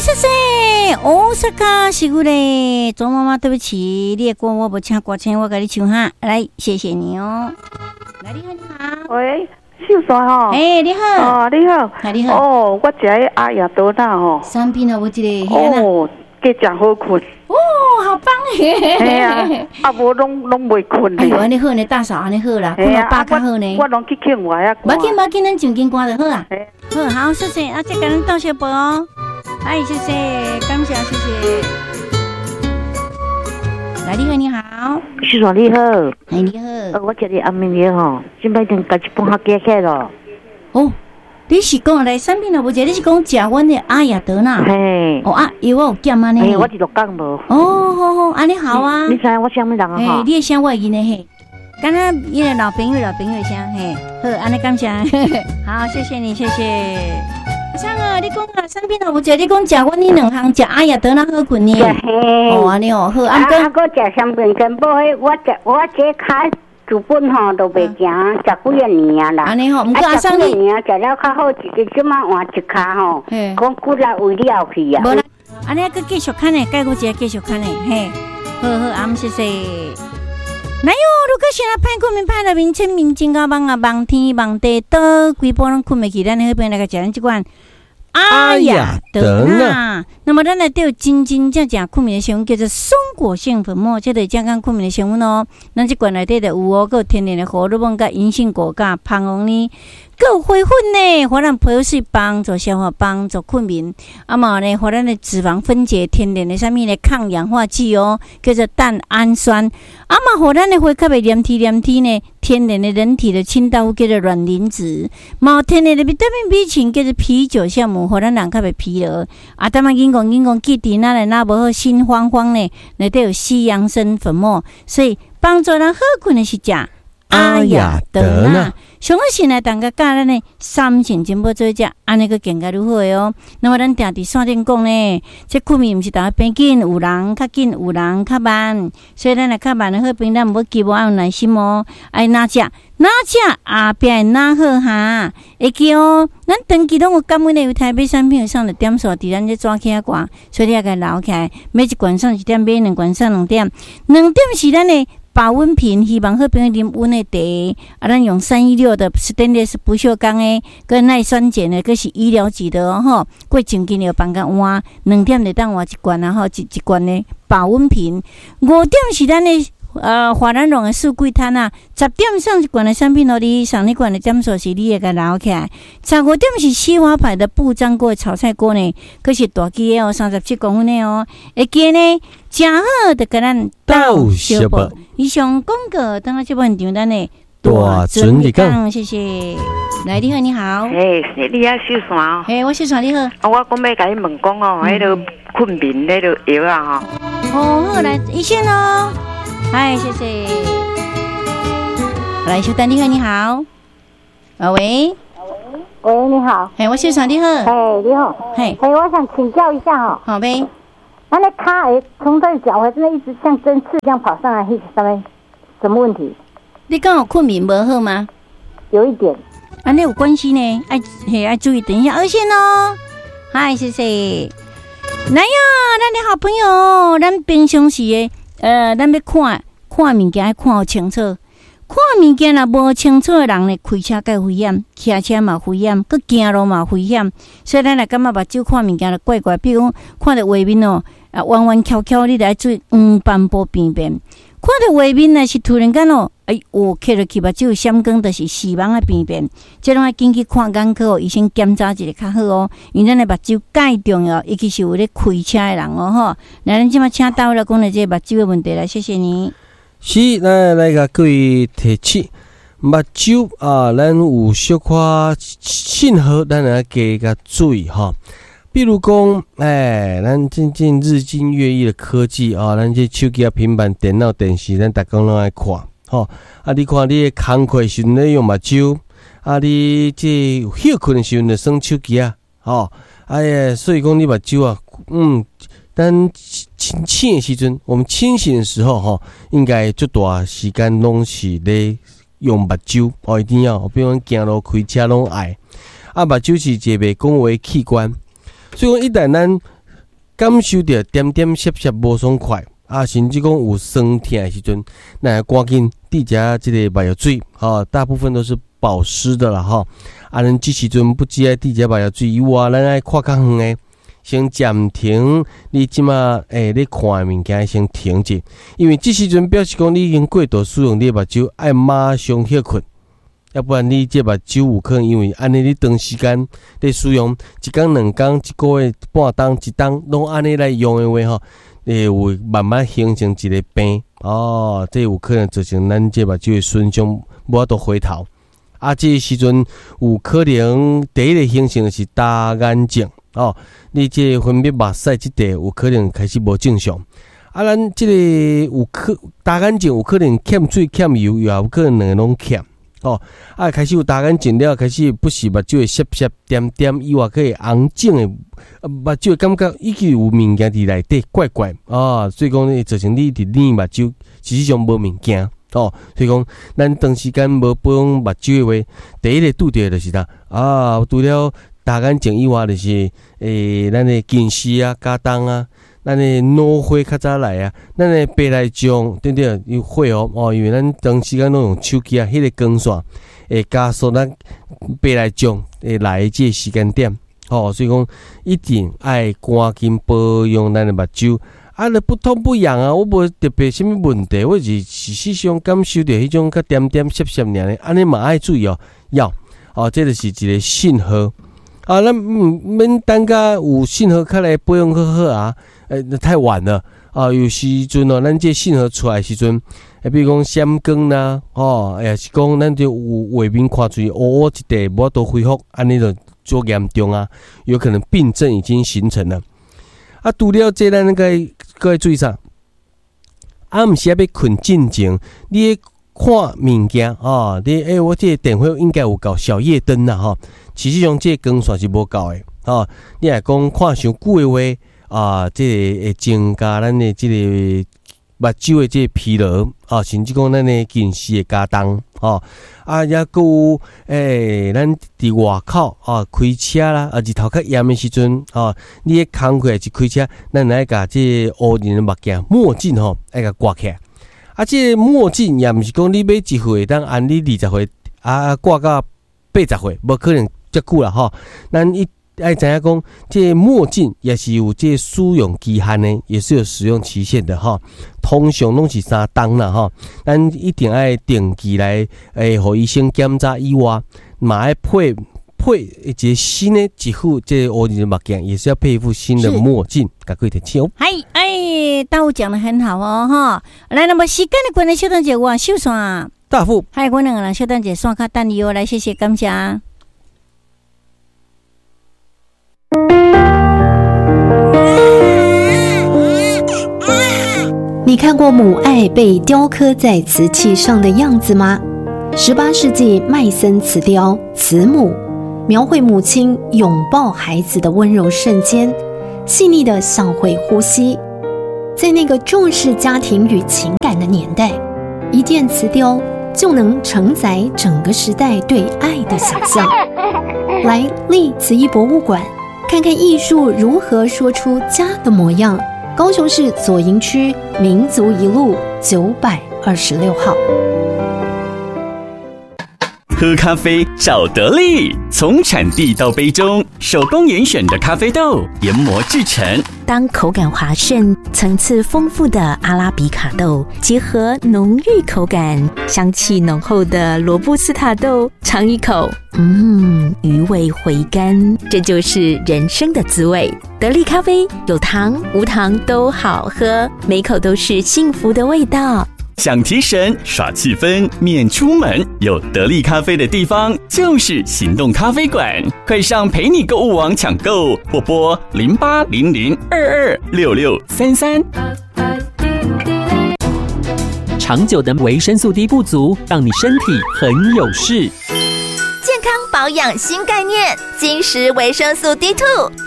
謝謝大阪是久嘞，周媽媽對不起，你的歌我無請歌星，我共你唱哈，來，謝謝你哦。來，你好，你好。喂，秀山吼。欸，你好。哦，你好。你好。哦，我食彼阿亞多納吼。產品啊，有一个。哦，加誠好睏。哦，好棒嘿！嘿啊，啊無攏攏袂睏。哎喲，按呢好呢，大嫂按呢好啦，睏予飽較好呢。我攏去慶我啊。無要緊，無要緊，咱上緊歌就好啊。好，好，謝謝，啊，再共咱鬥相報哦。哎，謝謝，感謝，謝謝。來，你好，你好。秀山你好。哎，你好。我食的安眠藥吼，這擺已經共一半較加起來咯。哦，你是講來產品啊？無者你是講食阮的阿亞德納？嘿。哦啊，藥我有減按呢。嘿，我是六工無。哦，好好，按呢好啊。你知影我啥物人啊？嘿，你的聲我會認得嘿。敢若伊个老朋友，老朋友聲嘿，好，按呢感謝，好，謝謝你，謝謝。阿桑啊，你講啊，產品啊，無者你講食阮呢兩項，食阿亞德納好睏呢？哦，按呢哦，好，啊，啊，閣食三片健保，彼我食我這跤自本吼都袂行，十幾仔年啊啦。按呢吼，毋過阿桑你年食了較好，一個這馬換一跤吼，講骨力為了去啊。無啦，按呢閣繼續看呢，蓋過一個繼續看呢，嘿，好好，啊，謝謝。來喲，如果是若歹睏眠歹入眠，淺眠真夠夢啊，夢天夢地倒，規晡攏睏袂去，咱的好朋友來共食咱這款阿亞德納。那麼咱內底有真真正正睏眠的成分，叫做松果腺粉末，這個健康睏眠的成分哦。咱這罐內底就有哦，閣有天然的荷爾蒙、佮銀杏果、佮蜂王呢，閣有花粉呢，予咱皮膚水幫助消化、幫助睏眠。啊嘛呢，予咱的脂肪分解，天然的啥物呢？抗氧化劑哦，叫做蛋氨酸。啊嘛，予咱的血較袂黏貼黏貼呢，天然的人體的清道夫叫做卵磷脂。嘛有天然的維他命 B 群，叫做啤酒酵母，予咱人較袂疲勞。啊，當仔緊講緊講，記得咱的若無好心慌慌呢，內底有西洋參粉末，所以幫助咱好睏的是食阿亞德納。上好是來大家佮咱的三星珍寶做食，按呢閣更加愈好的哦。那麼咱定佇線頂講呢，這睏眠毋是逐個變緊，有人較緊，有人較慢，所以咱若較慢的好朋友，咱毋好急，愛有耐心哦。愛哪食哪食，後壁會哪好哈？會記哦，咱長期攏有感恩的有台買產品送的點數，佇咱這紙起掛，所以你愛共留起來。買一罐送一點，買兩罐送兩點，兩點是咱的保溫瓶，希望好朋友啉溫的茶。啊，咱用316的 stainless 不鏽鋼的，閣耐酸鹼的，閣是醫療級的哦吼。過上緊要放甲換，兩點就當換一罐啊吼，一一罐的保溫瓶。五點是咱的華南龍的四季攤啊，十點送一罐的產品予你，送你罐的點數是你會共留起來。15點是西華牌的不粘鍋炒菜鍋呢，閣是大支的哦，37公分的哦。會記呢，誠好就共咱鬥相報。以上廣告，等下這部場咱的大準日講，謝謝。來，你好，你好。嘿，你好，秀山哦。嘿，我秀山，你好。啊，我講欲共你問講哦，彼个睏眠彼个藥啊吼。哦，好，來，醫生哦。嗨，謝謝。來，秀丹，你好，你好。啊喂。喂，你好。嘿，我秀山，你好。嘿，你好。嘿。嘿，我想請教一下哈。好唄。那那跤會從這腳會真的一直像針刺這樣跑上來，是啥物？什麼問題？你講有睏眠無好嗎？有一點。啊，那有關係呢？愛嘿愛注意，等一下二線哦。嗨，謝謝。來呀，咱的好朋友，咱平常時的，咱欲看看物件，愛看予清楚。看物件若無清楚的人呢，開車較危險，騎車嘛危險，閣行路嘛危險。所以咱若感覺目睭看物件就怪怪，比如講看著畫面哦，啊彎彎翹翹，你著愛注意黃斑部病變。看著畫面若是突然間哦，哎喲，磕落去目睭閃光，就是視網的病變。這攏愛緊去看眼科哦，醫生檢查一下較好哦。因為咱的目睭蓋重要，尤其是有咧開車的人哦吼。來，咱這馬請大衛來講著這個目睭的問題來，謝謝你。是，咱來共各位提醒，目睭啊，咱有小可信號，咱來加共注意吼。比如講，欸，咱最近日新月異的科技啊，咱這手機啊、平板電腦、電視，咱逐工攏愛看，吼。啊，你看你的工課時陣咧用目睭，啊，你這歇睏的時陣就耍手機啊，吼。哎呀，所以講你目睭啊，咱清醒的時陣，我們清醒的時候，吼，應該足大時間攏是咧用目睭，哦，一定要，比如講行路、開車攏愛。啊，目睭是一個袂講話的器官。所以講，一旦咱感受著點點澀澀無爽快，啊，甚至講有酸疼的時陣，咱趕緊滴一下這个目藥水，吼，大部分都是保濕的啦，吼。啊，咱這時陣不只愛滴一下目藥水以外，咱愛看較遠的，先暫停你這馬咧看的物件，先停者，因為這時陣表示講你已經過度使用你的目睭，愛馬上歇睏。要不然你這目睭有可能因為按呢你長時間咧使用，一工兩工、一个月、半冬、一冬，攏按呢來用的話吼，會有慢慢形成一个病哦，這有可能造成咱這目睭的損傷，無法度回頭。啊，這個時陣有可能第一个形成的是乾眼症哦，你這个分泌目屎這塊有可能開始無正常。啊，咱這個有可乾眼症有可能欠水欠油，也有可能兩个攏欠。哦，啊，開始有乾眼症了，開始不時目睭會澀澀點點，以外閣會紅腫的，目睭感覺已經有物件佇內底怪怪啊，所以講會造成你一直捏目睭，事實上無物件哦。所以講，咱長時間無保養目睭的話，第一个拄著的就是啥啊？除了乾眼症以外，就是咱的近視啊、加重啊。咱的腦火較早來啊，咱的白內障等等有會哦哦，因為咱長時間攏用手機啊，彼个光線會加速咱白內障會來的這个時間點，吼，所以講一定愛趕緊保養咱的目睭。啊，若不痛不癢啊，我無特別啥物問題，我是事實上感受著彼種較點點澀澀爾呢，按呢嘛愛注意哦，要哦，這就是一个信號。啊，咱毋免等甲有信號較來保養好好啊，那太晚了啊！有時陣哦，咱這信號出來時陣，比如講閃光啦，吼，抑是講咱就有畫面看出去烏烏一塊，無法度恢復，按呢就足嚴重啊，有可能病症已經形成了。啊，除了這，咱該閣愛注意啥？暗時仔欲睏進前，你看物件哦，你我這個電話應該有夠小夜燈啦吼。事實上，這個光線是無夠的吼。你若講看傷久的話，啊，這個會增加咱的這個目睭的這個疲勞啊，甚至講咱的近視會加重吼。啊，抑閣有咱佇外口啊，開車啦，啊，日頭較炎的時陣啊，你咧工課抑是開車，咱愛共這個烏仁的目鏡墨鏡吼，愛共掛起來。啊，這個墨鏡也毋是講你買一副會當按你20歲啊掛到80歲，無可能遮久啦吼。咱一愛知影講，這個墨鏡也是有這個使用期限的，也是有使用期限的吼。通常攏是3冬啦吼，咱一定愛定期來予醫生檢查以外，嘛愛配一個新的一副這個烏仁的目鏡，也是要配一副新的墨鏡，共各位提醒哦。嗨，哎，大夫講得很好哦，哈。來，那麼時間的關係，小等者我秀山大夫，嗨，我兩個人小等者線卡等伊哦，來，謝謝，感謝。你看過母愛被雕刻在瓷器上的樣子嗎？18世紀麥森瓷雕《慈母》，描繪母親擁抱孩子的溫柔瞬間，細膩的像會呼吸。在那個重視家庭與情感的年代，一件瓷雕就能承載整個時代對愛的想象。來立瓷藝博物館，看看藝術如何說出家的模樣。高雄市左營區民族一路926號。喝咖啡找得力，從產地到杯中，手工嚴選的咖啡豆研磨製成。當口感滑順、層次豐富的阿拉比卡豆結合濃郁口感、香氣濃厚的羅布斯塔豆，嘗一口，餘味回甘，這就是人生的滋味。得力咖啡有糖無糖都好喝，每口都是幸福的味道。想提神、耍氣氛、免出門，有得力咖啡的地方就是行動咖啡館。快上陪你購物網搶購，或撥0800226633。長久的維生素 D 不足，讓你身體很有事。健康保養新概念，金石維生素 D2，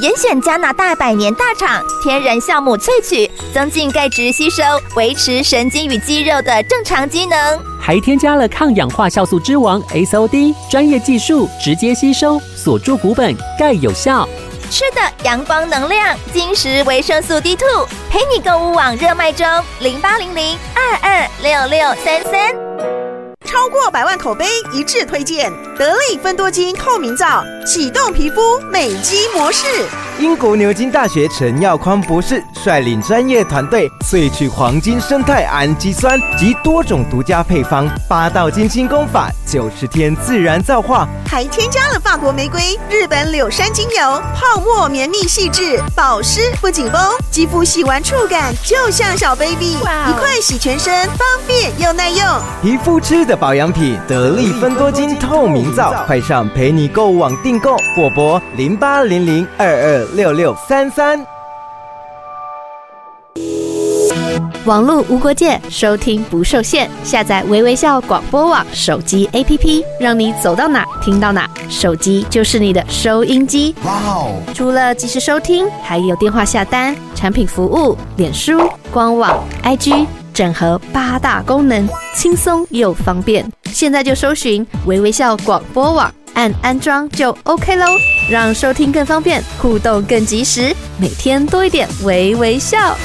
嚴選加拿大百年大廠天然酵母萃取，增進鈣質吸收，維持神經與肌肉的正常機能。還添加了抗氧化酵素之王 SOD，專業技術直接吸收，鎖住骨本，鈣有效。吃的陽光能量，晶石維生素 D two，陪你購物網熱賣中，0800226633。超過百萬口碑一致推薦，得力芬多精透明皂，啟動皮膚美肌模式。英國牛津大學陳耀寬博士率領專業團隊萃取黃金生態氨基酸及多種獨家配方，八道精心工法，90天自然皂化，還添加了法國玫瑰、日本柳杉精油，泡沫綿密細緻，保濕不緊繃，肌膚洗完觸感就像小 baby，一塊洗全身，方便又耐用。皮膚吃的保養品，得力芬多精透明皂，快上陪你購物網訂購，或撥0800226633。網路無國界，收聽不受限。下載微微笑廣播網手機 APP，讓你走到哪聽到哪。手機就是你的收音機。哇哦！除了即時收聽，還有電話下單、產品服務、臉書、官網、IG，整合八大功能，輕鬆又方便。現在就搜尋微微笑廣播網，按安裝就 OK 囉，讓收聽更方便，互動更及時，每天多一點微微笑。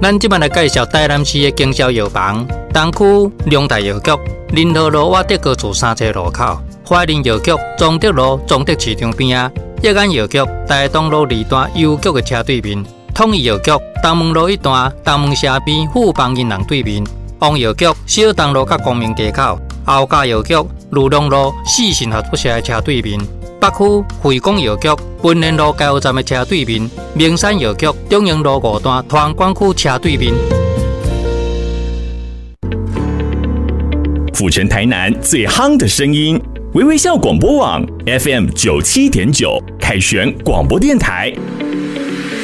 咱這擺來介紹台南市的經銷藥房，東區龍泰藥局、仁和路瓦德高厝三層路口，懷仁藥局中德路中德市場邊仔，益安藥局台東路二段郵局的車對面，統一藥局東門路一段東門社邊富邦銀行對面，王藥局小東路佮光明街口，後家藥局裕隆路四信合作社的車對面，北區惠廣藥局文賢路加油站的車對面，明山藥局中營路五段團管區車對面。府城台南最夯的聲音，微微笑廣播網 FM 97.9，凱旋廣播電台。